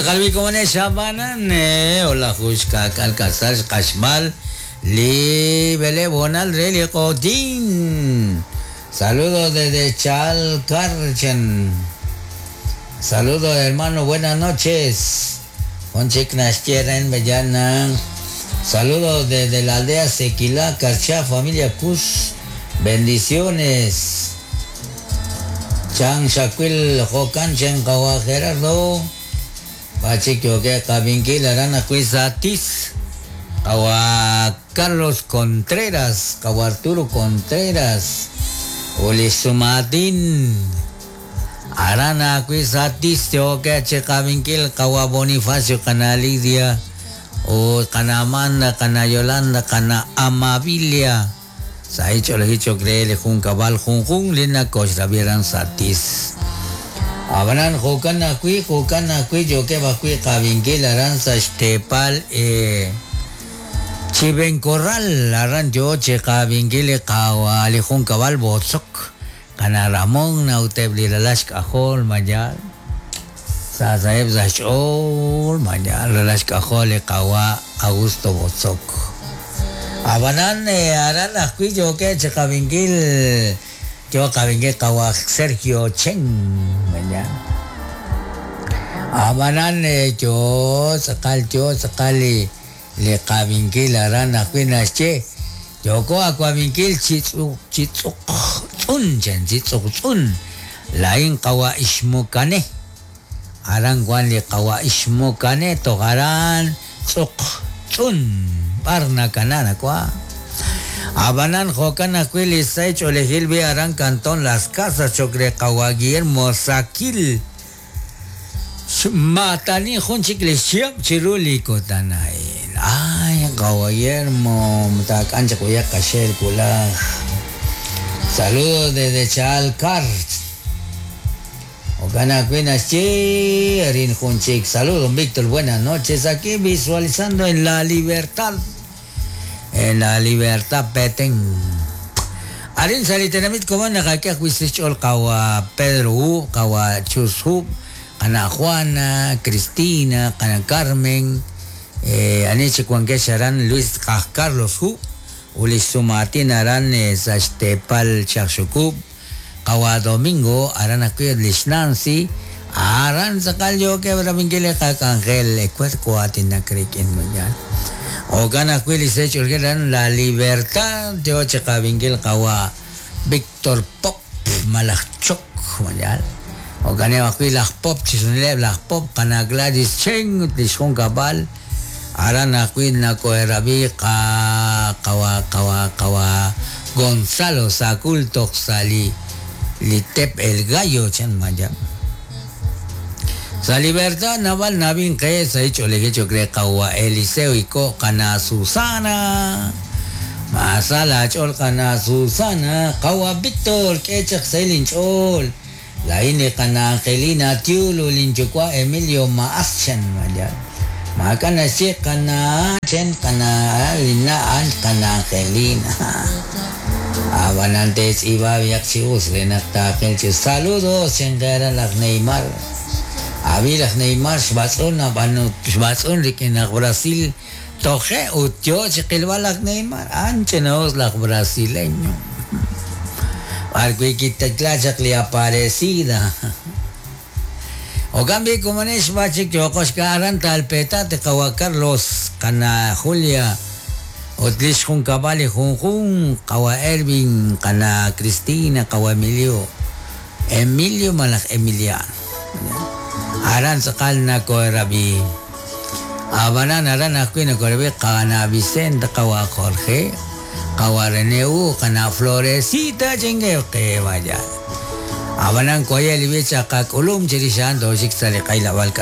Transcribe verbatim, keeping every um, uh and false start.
Okan tz'aqal xabanan hola juxka kalkasal xqaxb'al li belebonal re li qotin. Saludos desde Chalcarchen. Saludos hermano, buenas noches. Conchik Nashtieren Bellana. Saludos desde la aldea Sequilá, Carchá, familia Cus. Bendiciones. Chan Shaquil Jokan Chen Kawa Gerardo. Pachiquio que Kabinkil Arana Cuizatis. Kawa Carlos Contreras. Kawa Arturo Contreras. Ulisumatin. Arana Cuizatis. Tioke Chekabinkil Kawa Bonifacio Kana Lidia. O Kana Amanda, Kana Yolanda, Kana Amabilia. Saicho lehicho creele jun cabal jun jun lina koshravieran satis. Abanan jokan akui jokan akui yo que bakui kabinkil aranza xtepal eh Chiven Corral aran yo che kabinkil kawa li jun cabal botzok kana Ramón nautebli lalash kajol mayal Sasaeb zachol mayal lalash kajol kawa Augusto Botzok. Abanan aran akui yo que che kabinkil yo kabinkil kawa Sergio Chen mañana. Abanan yo sakal yo sakali le kabinkil aran akui nasche yo ko akwabinkil chitsu chitsu tsun chen chitsu tsun lain kawa ishmukane aran guan le kawa ishmukane togaran tsuk tsun parna kanana kwa. Abanan jokan akuil isai cholejil bi aran cantón Las Casas chocre kawa Guillermo Saquil matani junchik le chiap chiruli kotanail. Ay kawa Guillermo mtakancha kuya kashel kula. Saludos desde Chalcar. Ocana cuinas chi junchik. Saludos Víctor, buenas noches. Aquí visualizando en La Libertad. En La Libertad Petén. Arin salitenamit como nakakia huisichol kawa Pedro U, kawa Chus Hub, kana Juana, Cristina, kana Carmen, eh, aniche cuanquesharan Luis Carlos Hub, Ulis Sumatin aran eh, Sashtepal Chakshukub, kawa Domingo, aran akuy Lish Nancy, aran sakal yo que braminguile kakangel, ecuerco atinakrikin mañana. Okan akuil isecho La Libertad, yo chekabingil kawa Víctor Pop, Malachok, mayal. Okan akuil Pop, chisunileb lach Pop, kana Gladys Cheng, tishon kabal. Aran akuil nakoerabi ka kawa kawa kawa Gonzalo Sakultok sali litep el gallo chan mayal. Sa Libertad naval nabin que sa hecho le hecho cree kawa Eliseo y ko kana Susana masala chol kana Susana kawa Víctor que chak selin chol la ine kana Angelina Tiulo linchukwa Emilio Maaschen maya makana si kana chen kana lina an kana Angelina abanantes iba viaxius renakta saludos chengara las Neymar. Avilaj Neymar xbatz'un ab'an xbatz'un rik'in aj Brasil toje utyo chiqilb'al aj Neymar ancha naos laj brasileño arkuikitakla li aparecida o cambio como nex bachik yoqoxka aran talpetate qawa Carlos kana Julia otlish jun kabali jun jun qawa Ervin kana Cristina qawa Emilio Emilio malaj Emiliano Aran sakal na koerabi. Abanan aran aku na koerabi kana Vicente kawa Jorge kawa Reneu kana Florecita chingue que vaya. Abanan koyel bicha kakulum chirishan doshik sale kaila balka.